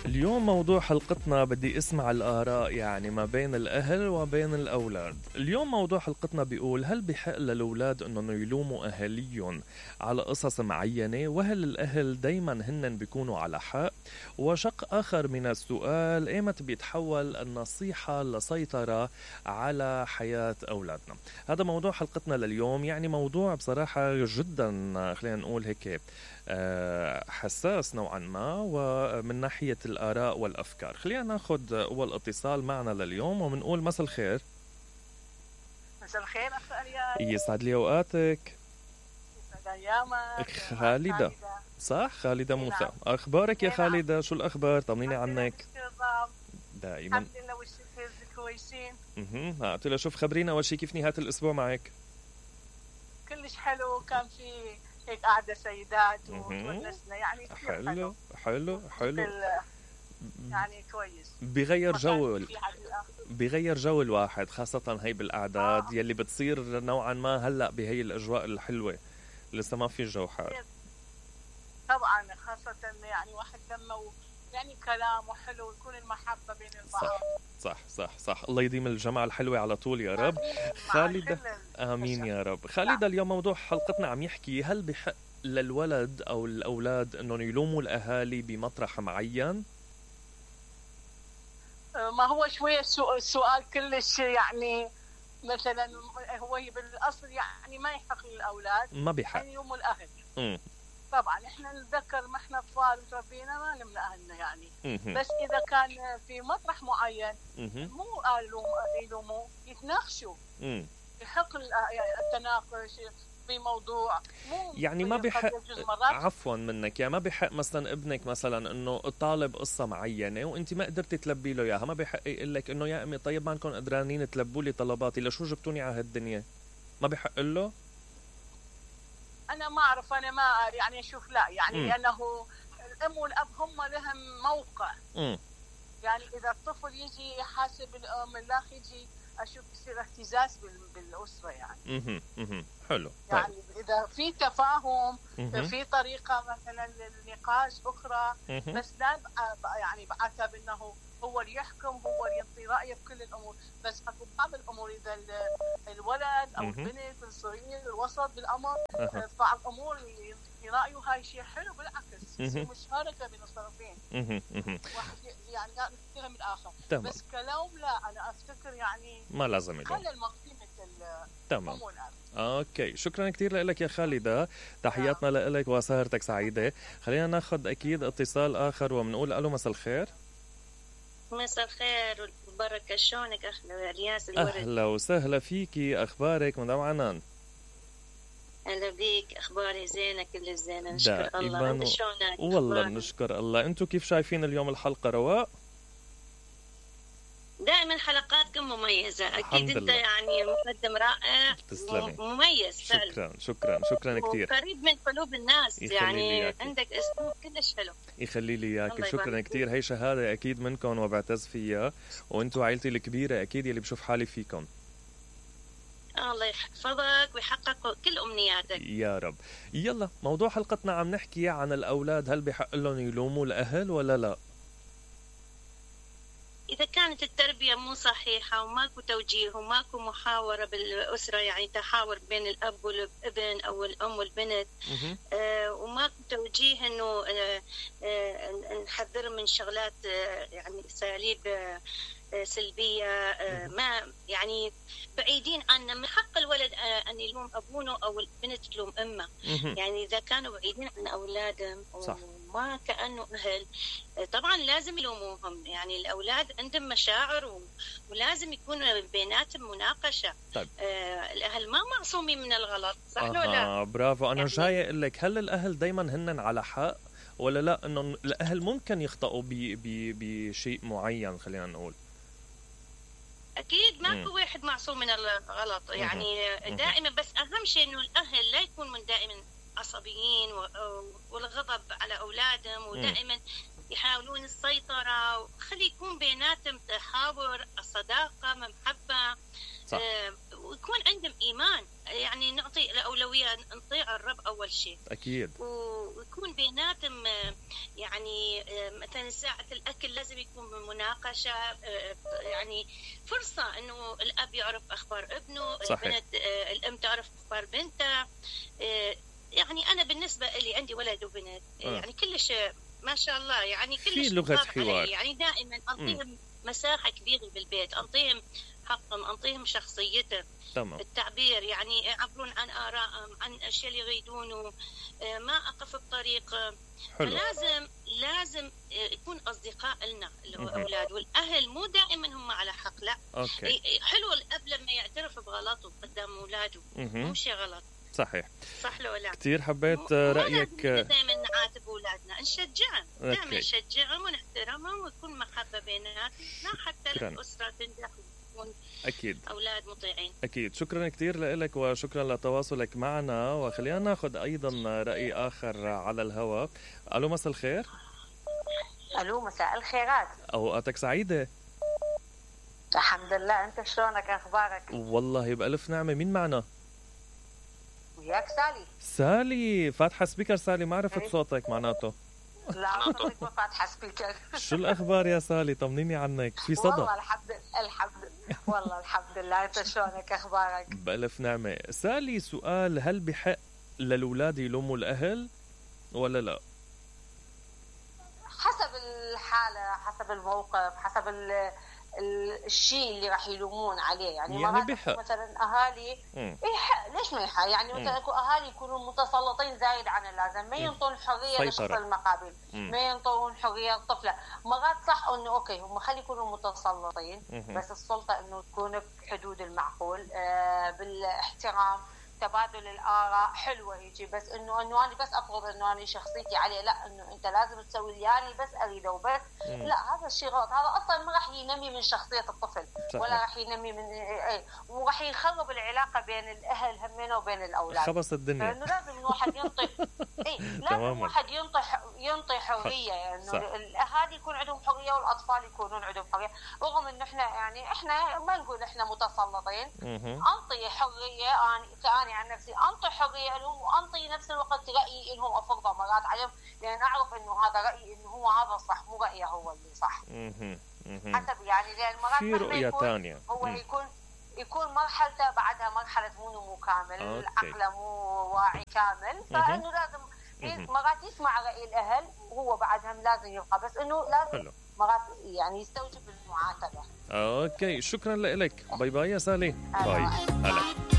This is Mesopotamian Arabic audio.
اليوم موضوع حلقتنا بدي اسمع الآراء يعني ما بين الأهل وبين الأولاد. اليوم موضوع حلقتنا بيقول: هل بحق للأولاد أنهم يلوموا أهاليهم على قصص معينة؟ وهل الأهل دايما هن بيكونوا على حق؟ وشق آخر من السؤال: ايمت بيتحول النصيحة لسيطرة على حياة أولادنا؟ هذا موضوع حلقتنا لليوم. يعني موضوع بصراحة جدا خلينا نقول هيك حساس نوعا ما، ومن ناحية الآراء والأفكار. خلينا ناخد أول اتصال معنا لليوم ومنقول مساء الخير. مساء الخير أخ أريان. يسعد لي أوقاتك. يسعد أيامك. خالدة. صح، خالدة موسى. نعم. أخبارك يا خالدة؟ شو الأخبار؟ طمنيني عنك. دائما الحمد لله. وش كويسين؟ قلت له شوف خبرينا أول شيء كيف نهاية الأسبوع معك؟ كلش حلو، كان في هيك قاعدة سيدات وتونسنا يعني حلو حلو حلو يعني كويس. بغير جو الواحد، خاصة هي بالأعداد يلي بتصير نوعا ما هلأ بهي الأجواء الحلوة. لسه ما في جو حار طبعا، خاصة يعني واحد لما يعني كلام حلو يكون المحبة بين البعض. صح صح صح. الله يديم الجماعة الحلوة على طول يا رب. خالدة آمين يا رب. خالدة، اليوم موضوع حلقتنا عم يحكي: هل بحق للولد أو الأولاد أنهم يلوموا الأهالي بمطرح معين؟ ما هو شوية السؤال كلش يعني مثلا هو بالأصل يعني ما يحق للأولاد، ما بحق يعني يلوموا الأهل. طبعا احنا نتذكر ما احنا اطفال وتربينا ما لمنا اهلنا يعني. بس اذا كان في مطرح معين مو يلوموا، يتناقشوا. يحق التناقش في موضوع، مو يعني ما بحق. عفوا منك، يعني ما بحق مثلا ابنك مثلا انه طالب قصه معينه وانت ما قدرتي تلبي له اياها، ما بحق يقول لك انه يا امي طيب ما انكم قدرانين تلبوا لي طلباتي، لشو جبتوني على هالدنيا؟ ما بحق له. أنا ما أعرف، أنا ما يعني أشوف لا يعني لأنه الأم والأب هم لهم موقع. يعني إذا الطفل يجي يحاسب الأم، الأخ يجي، أشوف يصير اهتزاز بالأسرة يعني. حلو. يعني طيب. إذا في تفاهم، في طريقة مثلا للنقاش أخرى، بس لا يعني بعتب إنه هو اللي يحكم، هو اللي يعطي رأيه بكل الأمور. بس أكو بعض الأمور إذا الولد أو البنت الصغير الوسط بالأمر، بعض الأمور يعطي رأيه، هاي شيء حلو بالعكس، يصير مشاركة بين الطرفين. واحد يعني يتهم الآخر. بس كلام لا، أنا أفتكر يعني ما لازم يلوم. خلي المقيمة تمام. اوكي، شكرا كثير لك يا خالدة، تحياتنا لك وسهرتك سعيدة. خلينا ناخذ اكيد اتصال اخر وبنقول الو مساء الخير. مساء الخير والبركة، شلونك اخنا الياس الورد؟ اهلا وسهلا فيكي، اخبارك مدام عنان؟ اهلا بيك، اخباري زينة كل زينة نشكر الله. انت شلونك؟ والله نشكر الله. انتم كيف شايفين اليوم الحلقة؟ رواق دائما حلقاتكم مميزة أكيد. أنت يعني مقدم رائع. تسلمي. مميز فعلا. شكرا كثير. قريب من قلوب الناس يعني. عندك أسلوب كلش حلو. يخلي لي إياك. شكرا كثير. هي شهادة أكيد منكم وبعتز فيها، وأنتوا عائلتي الكبيرة أكيد يلي بشوف حالي فيكم. الله يحفظك ويحقق كل أمنياتك يا رب. يلا، موضوع حلقتنا عم نحكي عن الأولاد. هل بحق لهم يلوموا الأهل ولا لا؟ إذا كانت التربية مو صحيحة وماكو توجيه وماكو محاورة بالأسرة، يعني تحاور بين الأب والابن أو الأم والبنت، وماكو توجيه إنه نحذر من شغلات يعني أساليب سلبية، ما يعني بعيدين عنا. من حق الولد أن يلوم أبوه أو البنت تلوم أمه. يعني إذا كانوا بعيدين عن أولادهم وما كأنه أهل، طبعا لازم يلوموهم. يعني الأولاد عندهم مشاعر ولازم يكون بيناتهم مناقشة. طيب. الأهل ما معصومين من الغلط، صح ولا لا؟ برافو. أنا يعني جاي أقول لك، هل الأهل دايما هن على حق ولا لا؟ إنه الأهل ممكن يخطئوا بشيء معين، خلينا نقول. أكيد ماكو واحد معصوم من الغلط يعني. دائما بس أهم شيء إنه الأهل لا يكونوا دائما عصبيين والغضب على أولادهم، ودائما يحاولون السيطرة. خلي يكون بيناتهم تحاور، الصداقة، محبة. ويكون عندهم إيمان، يعني نعطي الأولوية، نطيع الرب أول شيء أكيد، ويكون بيناتهم يعني مثلا ساعة الأكل لازم يكون بمناقشة، يعني فرصة إنه الأب يعرف أخبار ابنه، صحيح. البنت الأم تعرف أخبار بنتها. يعني أنا بالنسبة لي عندي ولد وبنت، يعني كلش ما شاء الله، يعني كلش في لغة حوار، يعني دائما أنطيهم مساحة كبيرة بالبيت، أنطيهم حقهم، أنطيهم شخصيتهم، تمام. التعبير، يعني يعبرون عن آرائهم، عن الأشياء اللي يريدونه، ما أقف بطريق. حلو. لازم يكون أصدقاء لنا اللي هو أولاد، والأهل مو دائما هم على حق، لا. أوكي. حلو الأب لما يعترف بغلطه قدام أولاده، مو شيء غلط. صحيح، صح لو لا؟ كثير حبيت رأيك. دائما نعاتب أولادنا، نشجعهم، دائما نشجعهم ونحترمهم ويكون محبة بيناتنا حتى الأسرة تنجح وتكون أكيد أولاد مطيعين. أكيد. شكرا كثير لك وشكرا لتواصلك معنا، وخلينا ناخذ أيضا رأي آخر على الهواء. ألو، مساء الخير. ألو، مساء الخيرات. أوقاتك سعيدة. الحمد لله، أنت شلونك؟ أخبارك؟ والله بألف نعمة. مين معنا؟ وياك سالي. سالي، فاتحة سبيكر. سالي، ما عرفت صوتك معناته. لا صوتك ما فاتحة سبيكر. شو الأخبار يا سالي؟ طمنيني عنك. في صدى؟ والله الحمد لله. أنت شلونك؟ أخبارك؟ بألف نعمة. سالي، سؤال، هل بحق للأولاد يلوموا الأهل ولا لا؟ حسب الحالة، حسب الموقف، حسب الشيء اللي راح يلومون عليه. يعني بحق مثلا اهالي يحق، ليش ما يحق؟ يعني مثلا اكو اهالي يكونوا متسلطين زايد عن اللازم، ما ينطون حريه للشخص المقابل، ما ينطون حريه الطفله. مرات صح انه اوكي هم خلي يكونوا متسلطين، بس السلطه انه تكون بحدود المعقول، بالاحترام، تبادل الاراء حلوه هيجي. بس انه انا بس افرض انه انا شخصيتي عليه، لا انه انت لازم تسوي اللي انا بس اريده وبس، لا هذا الشيء غلط. هذا اصلا ما راح ينمي من شخصيه الطفل، ولا راح ينمي من وراح يخرب العلاقه بين الاهل همين وبين الاولاد، خبص الدنيا. لانه لازم الواحد ينطي لازم الواحد ينطي حريه، يعني الاهالي يكون عندهم حريه والاطفال يكونون عندهم حريه. رغم انه احنا ما نقول احنا متسلطين، انطي حريه. انا عن نفسي انطي حريه لهم، وانطي نفس الوقت رايي انهم افرضه مرات عليهم، لان اعرف انه هذا رايي، انه هو هذا صح، مو رايه هو اللي صح. حسب يعني، لان مرات في رؤيه ثانيه هو يكون مرحلته بعدها مرحله مو نمو كامل، عقله مو واعي كامل، فانه لازم مرات يسمع راي الاهل، وهو بعدهم لازم يبقى، بس انه لازم مرات يعني يستوجب المعاتبه. اوكي، شكرا لك. باي باي يا سالي. باي. هلا.